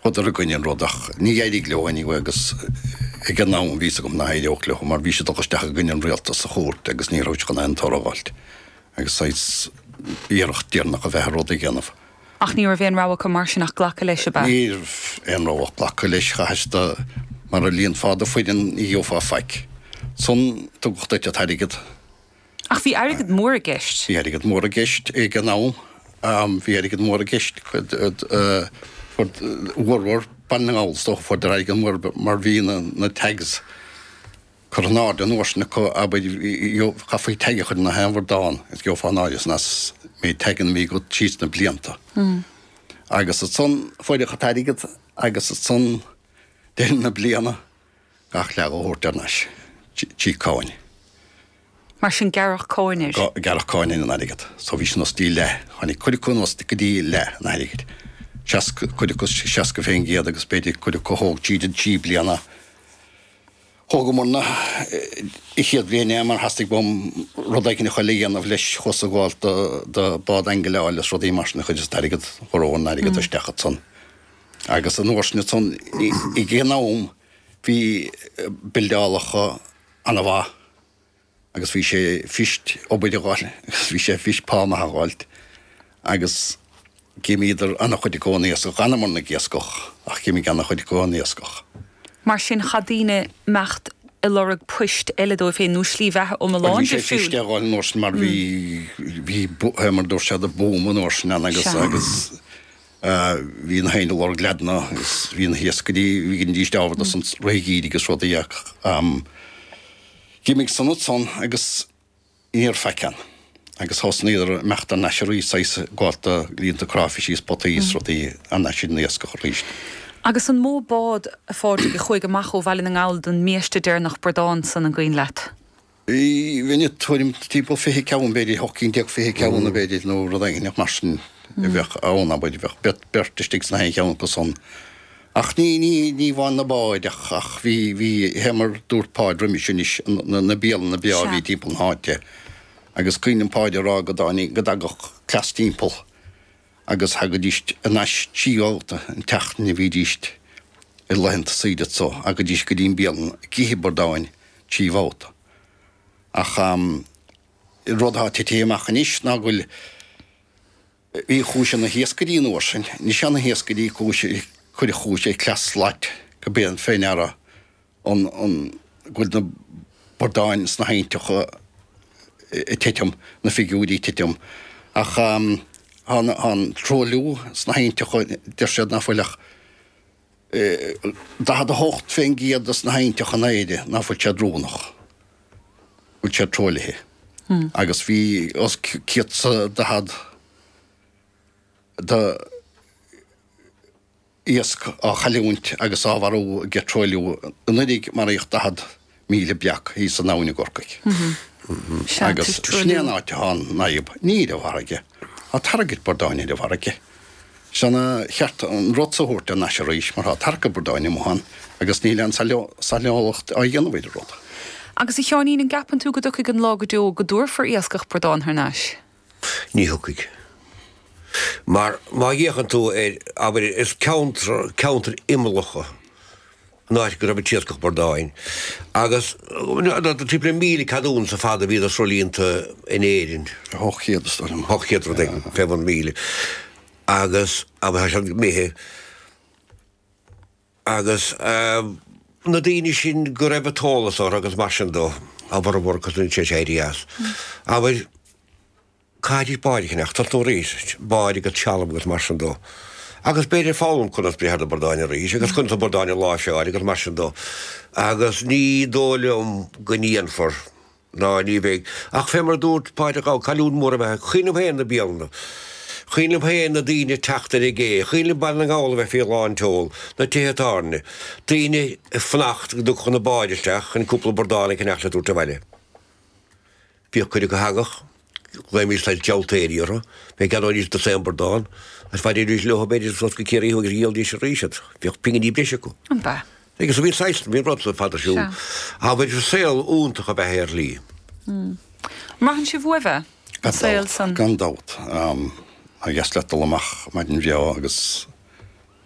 Chuadar i gcoinne an rud ach ní éirigh leo anyway agus ag an am bhí fhios agam nach éireodh leo mar bhí siad dul isteach i gcoinne an rialtas sa chúirt agus ní raibh siad chun aon toradh a fháilt agus saghas iarracht deireanach a bheith ar rud a dhéanamh. Ach ní raibh aon rogha acu mar sin ach glacadh leis, ab ea? Ní raibh aon rogha ach glacadh leis, chaithis do, mara líonfá do foireann ní gheofá faic. Ansan tugadh duit an t-airgead. Ach bhí airgead mór i gceist. Bhí airgead mór i gceist ag an am. Bhí airgead mór i gceist. Bhformhór Baile na nGall is dócha fuaireadar airgead mór mar bhí na tags curtha in airde an uair sin acu, abair, chaithfí tag a chur i ngach aon bhradán is gheofá in áirithe san as méid taganna a bhí agat síos na blianta. Agus ansan fuaireadh an t-airgead agus ansan deireadh na bliana gach leath a thabhairt thar n-ais trí cáin. Mar sin gearradh cáin air. Gearradh cáin ar an airgead. So bhí sé anuas dtí leath. Tháinig cuid acu anuas go dtí leath an airgid. Seasca, cuid acu 60% agus b'fhéidir cuid acu thóg tríd an trí bliana. Thógamar-na an chéad bhliain é mar theastaigh uaim rud éigin a chur le dhéanamh leis chuas ag gabháil do, do bád aingleáil is rudaí mar sin a chuir an t-airgead, chuir an airgead isteach ansan. Agus an uair sin ansan ag an am bhí buildeálacha ana-mhaith agus bhí sé fuirist obair a dh'fháil agus bhí sé fuirist pá maith a dh'fháilt agus d'imíodar ana-chuid acu ón iascach, d'fhanamar ag iascach ach d'imigh ana-chuid acu ón iascach. Mar sin chaith daoine imeacht ag lorg poist eile dóibh féin nó slí bheatha iomlán difriúil. Bhuel bhí sé fuirist é a dh'fháil an uair sin mar bhí, bhí, mar a dúirt siad, boom an uair sin ann agus, agus Bhí na héinne ag lorg leaideanna agus bhí na hiascairí, bhídís ábhar dos an rith gheimhridh agus rudaí ach d'imigh san ansan agus ní raibh faic ann. Agus thosnaíodar ag imeacht thar n-ais arís, saghas ag gabháilt do líonta cráifisí is potaí is rudaí thar n-ais ar an iascach arís. Agus an mó bád, a Phádraig, a chuaigh amach ó Bhaile na nGall don mbiaiste deireanach bradán san, an gcuimhin leat? Bhí tuairim timpeall 20 ceann, b'fhéidir, 18 cinn, 20 ceann, b'fhéidir, nó rud éigin mar sin a bheadh ann, abair, bheadh beirt istigh sna haon cheann acu san. Ach ní, ní, ní amháin na báid ach, ach bhí, bhí, fé mar dúirt Páid roimis anois, na, na bialanna breá a bhí timpeall na háite. Agus cuimhin liom Páid ag rá go dtáinig, go dtagadh cleas timpeall agus thagaidís thar n-ais trí bhabhta an tseachtain a bhídís i laethanta saoire so, thagaidís go dtí an bialann ag ithe bradáin trí bhabhta. Ach an rud atá titithe amach anois ná go bhfuil, bhí chuaigh sé na hiascairí an uair sin, anois tá na hiascairí chuaigh, cuireadh chuaigh sé cleas slait go b'é an fé ndeara an go bhfuil na bradáin sna haibhnteacha ag titim, na figiúirí ag titim. Ach tá an truailliú sna haibhnteacha, deir siad nach bhfuil ach 48% de na haibhnteacha in Éire nach bhfuil siad roghnach, bhfuil siad truaillithe. Agus bhí os cionn 140 de iasc á chailliúint agus á mharú ag truailliú. Anuraidh maraíodh 40,000 breac thíos san abhainn i gCorcaigh. Agus sin é an áit atá an fhadhb, ní ar an bhfarraige. Tá tarraingt bradáin ar an bhfarraige. Is ana cheart an rud so a thabhairt thar n-ais arís mar tá tarrac bradáin amuigh ann agus níl aon saineolacht á dhéanamh ar an rud. Agus a Sheáinín, an gceapann tú go dtiocfaidh an lá go deo go dtabharfar iascach bradán thar n-ais? Ní thiocfaidh. Mar má fhéachann tú ar, abair, is ceantar, ceantair imeallacha an áit go raibh an t-iascach bradáin. Agus timpeall le 1,000 ceadúnas ar fad a bhí do sruthlíonta in Éirinn. 800 is dóigh liom. 800 rud éigin, fé bhun 1,000. Agus, abair, tá siad imithe. Agus na daoine sin go raibh an t-eolas orthu agus mar sin dó, a bhformhór acu tar éis éirí as. Abair, caithfidís báid a cheannach, tosnú arís, báid agus trealamh agus mar sin dó. Agus b'fhéidir foghlaim conas breith ar na bradáin arís agus conas na bradáin a láimhseáil agus mar sin dó. Agus ní dóigh liom go ndéanfar. Ná ní bheidh. Ach fé mar a dúirt Pádraig Ó, cailliúint mhór ab ea é. Cuimhin liom féin na bialanna. Cuimhin liom féin na daoine ag teacht ar an gcé. Cuimhin liom Baile na nGall a bheith faoi lán tseol, na tithe tábhairne. Daoine ag fanacht go dtiocfadh na báid isteach chun cúpla bradán a cheannach le tabhairt abhaile. Bhíodh cuid acu a thagadh. Ghlaoimís saghas gealltóirí orthu. B'fhéidir gceannóidís dosaen bradán agus bhfaighidís leo b'fhéidir suas go Ciarraí agus dhíolaidís arís iad. Bhíodh pinginí breise acu. An b'ea? Agus bhí saghas, bhí rud fada ar siúl. Abair saol iontach ab ea é ar shlí. An mbraitheann sibh uaibh é? An saol san? Gan dabht. Ba dheas leat dul amach maidin bhreá agus.